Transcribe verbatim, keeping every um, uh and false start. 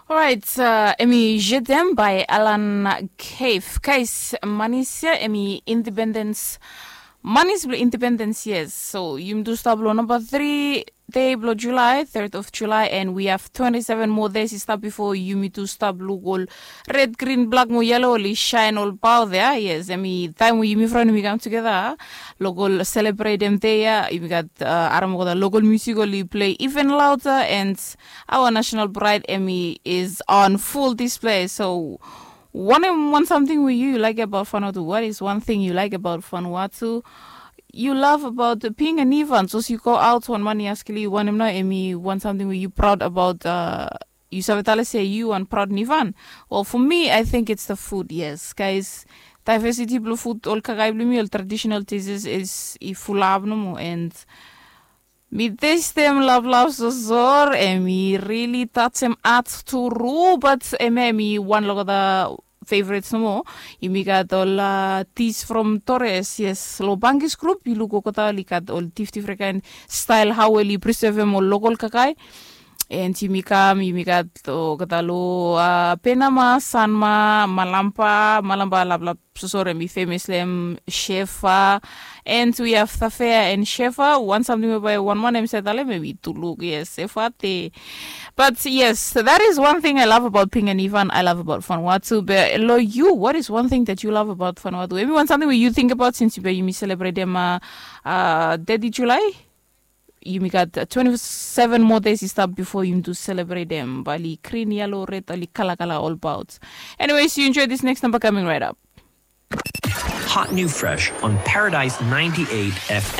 Orait, em i jedem bai alan kef kais manis ya em i independens. Manis blong independens yes, so yumi tu stap long namba tri dei blong julai, third of julai, and we have twenty seven more days i stap bifo yumi tu stap luk ol red, grin, blak mo yelo oli shain olbaot ya. Yes, em i taim we yumi fraen yumi kam tugeta long ol selebretem dei ya. Yumi gat aram olgeta lokol musik oli plei even lauta, and aoa nasenal braid em i is on ful displei. So wanem wan samting we yu laik abaot Vanuatu? Wat is wan ting yu laik abaot Vanuatu? Yu lav abaot bing a nivan sos yu go aot wan man i askel yu wanem nao em i wan samting we yu praod abaot? Yu save talem se yu wan praod nivan. Well, fo mi, ai ting its da fud. Yes, kais, daivesiti blong fud, ol kakae blong mi, ol tradisenal dises is i fulap nomo, and mi testem lavlav sosor, em i rili tajem at tru. Bat em ya em i wan long olgeta fevrets nomo. Yumi gat ol dis from Torres, yes, long Bangis grup yu luk olgeta oli gat ol difdifren kaen stael hao oli prisevem ol lokol kakae. And yumi kam, yumi gat olgeta long Penama, Sanma, Malampa. Malampa laplap sosor em i femes long em, Shefa. And we have Thafea and Shefa. Wan samting we bae wan man em save talem em i tuluk, yes, Shefa te. But yes, that is one thing I love about Pinganivan. I love about Vanuatu. Be long yu, what is one thing that you love about Vanuatu? Em i wan samting we yu tingbaot sins bae yumi selebretem deti Julai. Yumi gat twenty seven moa days i stap bifo yumi tu selebretem bae oli grin, yelo, red, oli kalakala olbaot. Anyways, yu enjoy this next number coming right up. Hot new fresh on Paradise ninety-eight F M.